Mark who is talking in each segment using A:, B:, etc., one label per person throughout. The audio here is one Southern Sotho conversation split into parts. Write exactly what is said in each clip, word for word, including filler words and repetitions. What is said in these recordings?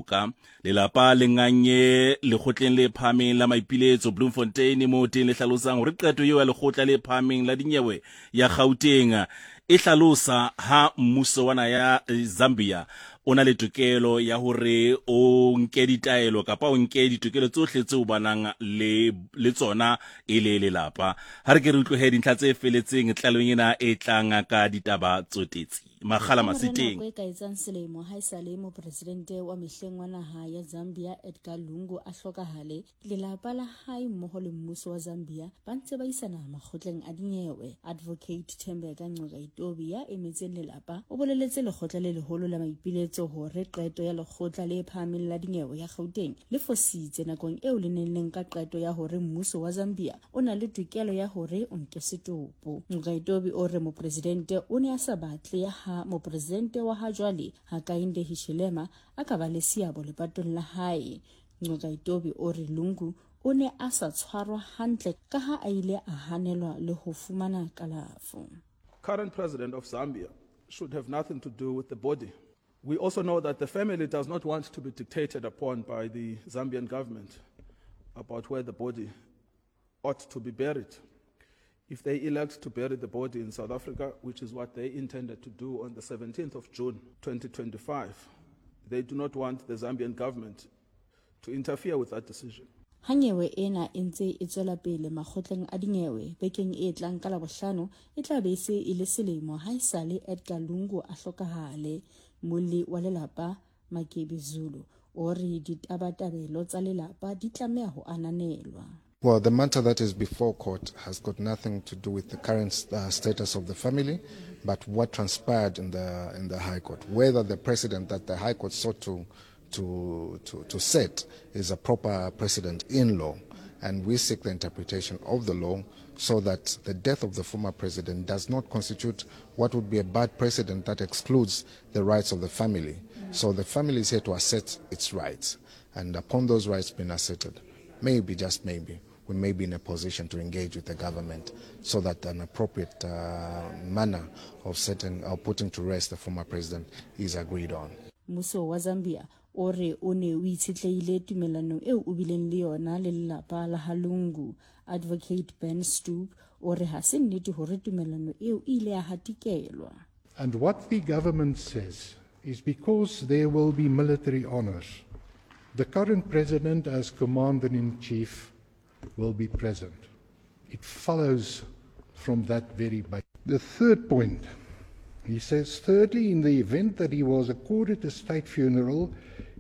A: toka. Lelapa le nganye lekgotleng le phahameng la maipiletso Bloemfontein, moo teng le hlalosang hore qeto eo ya lekgotla le phahameng la dinyewe ya Gauteng e hlalosa ha mmuso wa naha ya Zambia o na le tokelo ya hore o nke ditaelo kapa o nke ditokelo tsohle tseo ba nang le le tsona e le lelapa. Ha re ke re utlwe dintlha tse feletseng tlalehong ena e tlang ka ditaba tsotetsi. Makgala Masiteng.
B: Nako e ka etsang selemo ha esale mopresidente wa mehleng wa naha ya Zambia Edgar Lungu a hlokahale, lelapa la hae mmoho le mmuso wa Zambia ba ntse ba isana makgotleng a dinyewe. Advocate Thembeka Ngcukaitobi ya emetseng lelapa o boleletse lekgotla le leholo la maipiletso hore qeto ya lekgotla le phahameng la dinyewe ya Gauteng le fositse nakong eo le neng le nka qeto ya hore mmuso wa Zambia o na le tokelo ya hore o nke setopo. Ngcukaitobi o re mopresidente o ne a sa batle ha mopresidente wa ha jwale Hakainde Hichilema a ka ba le seabo lepatong la hae. Ngcukaitobi o re Lungu o ne a sa tshwarwa hantle ka ha a ile a hanelwa le ho fumana kalafo.
C: Current president of Zambia should have nothing to do with the body. We also know that the family does not want to be dictated upon by the Zambian government about where the body ought to be buried. If they elect to bury the body in South Africa, which is what they intended to do on the seventeenth of June twenty twenty-five, they do not want the Zambian government to interfere with that decision.
B: Ha nyewe ena e ntse e tswela pele makgotleng a dinyewe bekeng e tlang ka Labohlano, e tla be e se e le selemo ha esale Edgar Lungu a hlokahale. Molli wa lelapa Makebi Zulu o re ditabatabelo tsa lelapa di tlameha ho ananelwa.
D: Well, the matter that is before court has got nothing to do with the current, uh, status of the family, but what transpired in the, in the High Court. Whether the precedent that the High Court sought to, to, to, to set is a proper precedent in law, and we seek the interpretation of the law so that the death of the former president does not constitute what would be a bad precedent that excludes the rights of the family. So the family is here to assert its rights, and upon those rights being asserted, maybe, just maybe, we may be in a position to engage with the government so that an appropriate, uh, manner of setting or putting to rest the former president is agreed on.
B: Mmuso wa Zambia o re o ne o itshetlehile tumellanong eo o bileng le yona le lelapa la ha Lungu. Advocate Ben Stoop o re ha se nnete hore tumellano eo e ile ya hatikelwa.
E: And what the government says is because there will be military honors, the current president as commander-in-chief will be present. It follows from that very base. The third point, he says, thirdly, in the event that he was accorded a state funeral,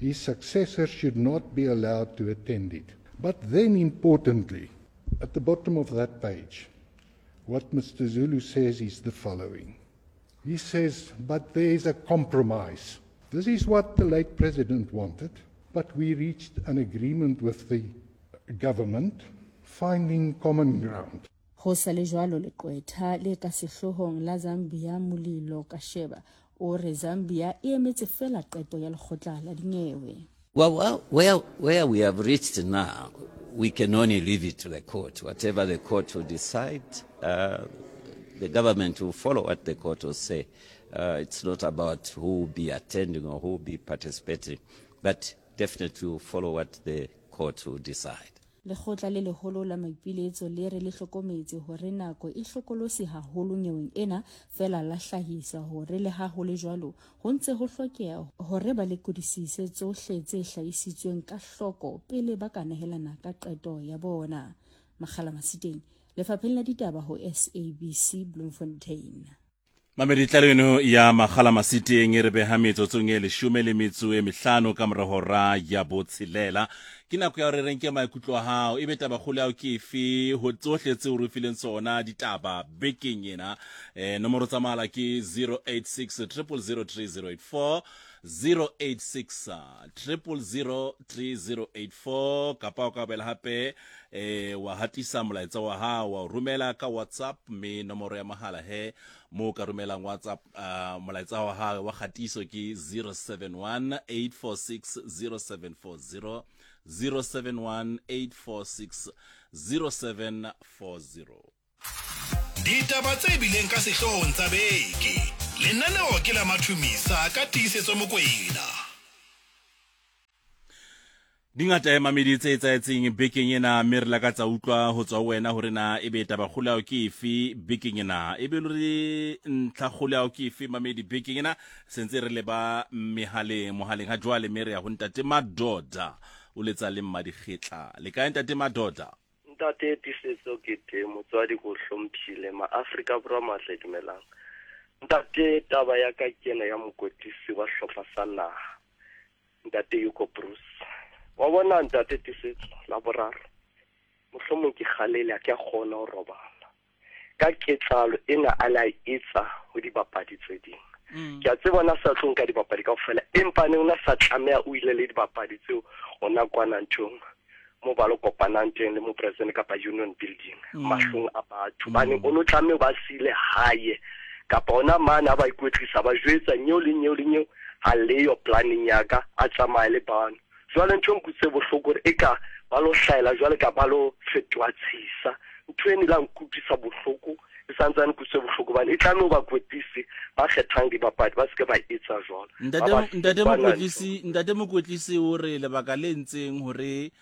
E: his successor should not be allowed to attend it. But then, importantly, at the bottom of that page, what Mister Zulu says is the following. He says, but there is a compromise. This is what the late president wanted, but we reached an agreement with the government, finding common ground.
B: Ho sa le jwalo, leqwetha le ka sehloohong la Zambia Mulilo Kasheba o re Zambia e emetse feela qeto ya lekgotla la dinyewe.
F: Well, well, where, where we have reached now, we can only leave it to the court. Whatever the court will decide, uh, the government will follow what the court will say. Uh, it's not about who will be attending or who will be participating, but definitely will follow what the court will decide.
B: Lekgotla le leholo la maipiletso le re le hlokometse hore nako e hlokolosi haholo nyeweng ena, feela la hlahisa hore le ha ho le jwalo ho ntse ho hlokeha hore ba lekodisise tsohle tse hlahisitsweng ka hloko pele ba ka nehelana ka qeto ya bona. Makgala Masiteng, Lefapheng la Ditaba ho S A B C Bloemfontein.
A: Mamedi, tlaleho eno ya Makgala Masiteng e re beha metsotsong e leshome le metso e mehlano ka mora hora ya botshelela. Ke nako ya hore re nke maikutlo a hao, ebe tabakgolo ya hao ke efe ho tsohle tseo re fileng tsona ditaba bekeng ena. Eh, nomoro tsa mohala ke zero eight six triple zero three zero eight four, zero eight six triple zero three zero eight four, kapa o ka boela hape, eh, wa hatisa molaetsa wa hao, wa o romela ka WhatsApp, mme nomoro ya mohala he moo ka romelang WhatsApp, uh, molaetsa wa hao wa kgatiso ke zero seven one eight four six zero seven four zero, zero seven one eight four six zero seven four zero.
G: Ditaba tse bileng ka sehloohong tsa beke. Lenaneo ke la Mathumisa ka Tiisetso Mokoena.
A: Dingata ya mamedi tse etsahetseng bekeng ena, mme re lakatsa utlwa ho tswa ho wena hore na ebe tabakgolo ya hao ke efe bekeng ena, ebe le hore ntlhakgolo ya hao ke efe mamedi bekeng ena. Sentse re leba mehaleng mohaleng ha jwale, mme re ya ho ntate Madoda o letsa le Mmadikgetla. Le kae ntate Madoda?
H: Ntate Tiisetso ke teng, motswadi ko hlomphile, ma Afrika Borwa matle dumelang. Ntate, taba ya ka ke ena ya mokwetlisi wa hlopha sa naha, ntate Hugo Broos. Wa bona ntate Tiisetso, la boraro mohlomong ke kgalele ha ke a kgona ho robala ka ketsahalo ena a la etsa ho dibapadi tse ding. Ke a tseba na sa tlo nka dibapadi kaofela, empa ne ona sa tlameha o ile le dibapadi tseo ona kwana nthong mo ba lo kopanang teng le mopresident kapa union building mahlong a batho. Bane o no tlameha ba sile hae kapa ona mane a ba ikwetlisa, ba jwetsa nyeo le nyeo le nyeo ha leyo planning ya ka, a tsamaye le bano. Jwale ntho e nkutlwise bohloko hore eka ba lo hlahela jwale ka ba lo fetoha tshisa. Ntho eno e la nkutlwisa bohloko, e santsane nkutlwise bohloko hobane e tlameha ho bakwetlisi ba kgethang dibapadi ba seke ba etsa jwalo.
A: Ntate mokwetlisi, ntate mokwetlisi o re lebaka le ntseng hore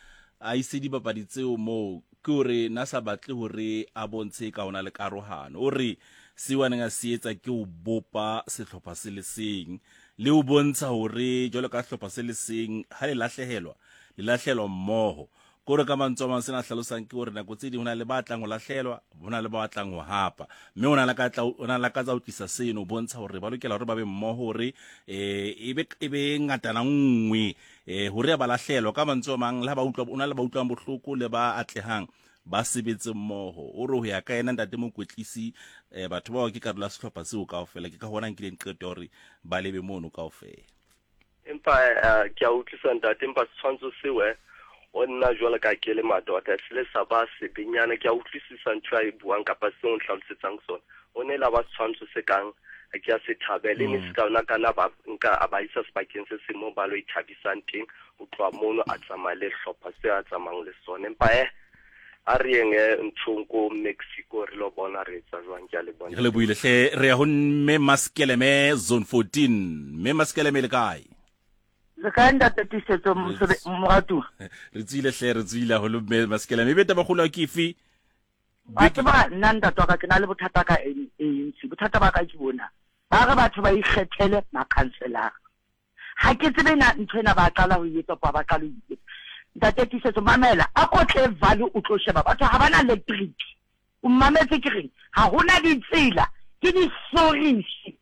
A: a ise dibapadi tseo moo ke hore na sa batle hore a bontshe ka hona le karohano. O re seo a neng a se etsa ke ho bopa sehlopha se le seng le ho bontsha hore jwalo ka sehlopha se le seng ha le lahlehelwa le lahlehelwa mmoho. Kore ka mantswe a mang sena hlalosang ke hore nako tse ding ho na le ba tlang ho lahlelwa, ho na le ba tlang ho hapa, mme o na lakatsa ho tlisa seno ho bontsha hore ba lokela hore ba be mmoho hore eh ebe ebe ngatana nngwe eh hore ba lahlelwa. Ka mantswe a mang le ha ba utlwa, o na le ba utlwang bohloko le ba atlehang ba sebetse mmoho. O re ho ya ka yena ntate mokwetlisi eh batho bao ke karolo ya sehlopha seo kaofela, ke ka hona nkileng qeto hore ba lebe mono kaofela.
H: Empa ke a utlwisa ntate, empa setshwantsho seo eh o nna jwalo ka ke le Madoda se le sa ba sebenyana. Ke a utlwisisa ntho a e buang kapa seo o ntlhalosetsang sona. O ne la ba setshwantsho se kang ke a se thabele, ne se ka ona kana ba nka a ba isa sebakeng se seng moo ba lo ithabisang teng, ho tloha mono a tsamaya le hlopha se a tsamayang le sona. Empa eh a re yeng nthong ko Mexico re lo bona re etsa jwang. Ke a le bona.
A: Re le buile hle. Re ya ho mme Maskeleme zone fourteen. Mme Maskeleme le kae?
I: Le kae ntate Tiisetso moratuwa?
A: Re tswile hle, re tswile haholo mme Maskeleme. Ebe tabakgolo ke efe?
I: Wa tseba nna ntate wa ka ke na le bothata ka A N C. Bothata ba ka ke bona ba re batho ba ikgethele makhanselara. Ha ke tsebe na ntho ena ba qala ho etsa kapa ba qala ho etsa. Ntate Tiisetso mamela, a ko tle Valley o tlo sheba batho ha bana electric. O mametse ke reng? Ha hona ditsela, ke disorisi.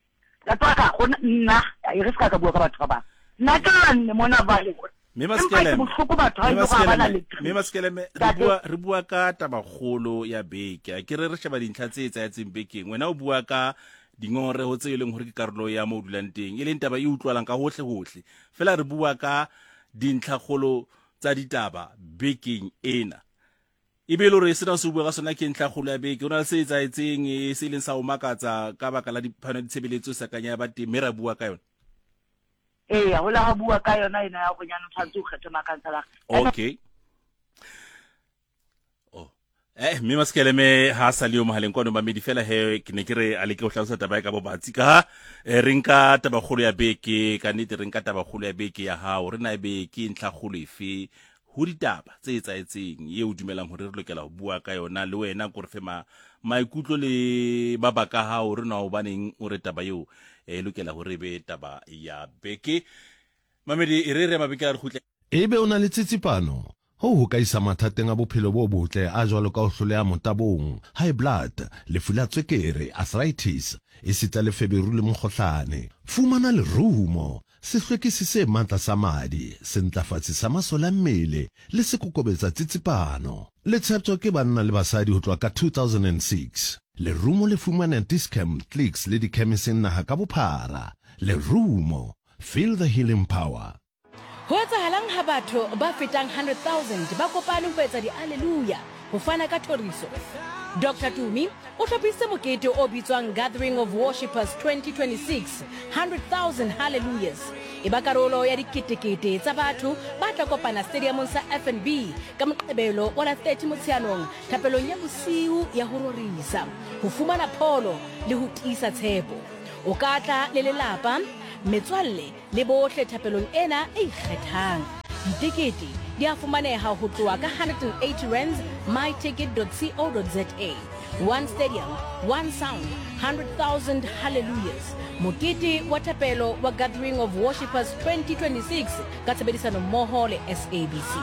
I: Ntate wa ka nna e re se ka bua ka batho ba bang. Nna ke nne mona Valley.
A: Mme Maskeleme, mme Maskeleme re bua re bua ka tabakgolo ya beke. Ke re re sheba dintlha tse etsahetseng bekeng. Wena o bua ka dingongoreho tse e leng hore ke karolo ya mo dulang teng, e leng taba e utlwalang ka hohle hohle. Fela re bua ka dintlhakgolo tsa ditaba bekeng ena. Ebe le hore sena se bua ka sona ke ntlhakgolo ya beke. Ho na le se etsahetseng se leng sa ho makatsa ka baka la diphano ditshebeletso sa kanya ya ba teng, mme ra bua ka yona.
I: Ee, ho la ha bua ka yona ena ya hore nyana o tshwanetse o kgethe makhanselara.
A: Okay. Oh. Eh, mme Maskeleme ha sa le yo mohaleng kwano mamedi fela he ke ne ke re a leke ho hlalosa taba e ka bobatsi ka ha re nka tabakgolo ya beke. Ka nnete re nka tabakgolo ya beke ya hao, re na ebe ke ntlhakgolo efe ho ditaba tse etsahetseng eo o dumelang hore re lokela ho bua ka yona le wena, ko re fe ma maikutlo le mabaka a hao re na hobaneng o re taba eo e lokela hore be taba ya beke. Mamedi e re re mabeke a re kgutle.
J: Ebe o na le tsitsipano ho ho ka isa mathateng a bophelo bo botle a jwalo ka ho hloleha motabong, high blood, lefu la tswekere, arthritis, esita le feberu le mokgohlane. Fumana lerumo, sehlwekisi se matla sa madi, sentlafatsi sa masole a mmele le sekokobetsa tsitsipano. Le tsheptjwa ke banna le basadi ho tloha ka two thousand six. Lerumo le fumana Dis-Chem, Clicks le dikhemiseng naha ka bophara. Lerumo, feel the healing power.
K: Ho etsahalang ha batho ba fetang hundred thousand ba kopane ho etsa di-alleluia ho fana ka thoriso? Doctor Tumi o hlophisitse mokete o bitswang Gathering of Worshippers twenty twenty-six, hundred thousand hallelujahs. E ba karolo ya diketekete tsa batho ba tla kopana stadiumong sa F N B ka Moqebelo wa la thirty Motsheanong thapelong ya bosiu ya ho rorisa, ho fumana pholo le ho tiisa tshepo. O ka tla le lelapa, metswalle le bohle thapelong ena e ikgethang. Ditekete di a fumaneha ho tloha ka one hundred and eighty rands myticket dot co dot za. One stadium, one sound, one hundred thousand hallelujahs. Mokete wa thapelo wa Gathering of Worshippers twenty twenty-six ka tshebedisano mmoho le S A B C.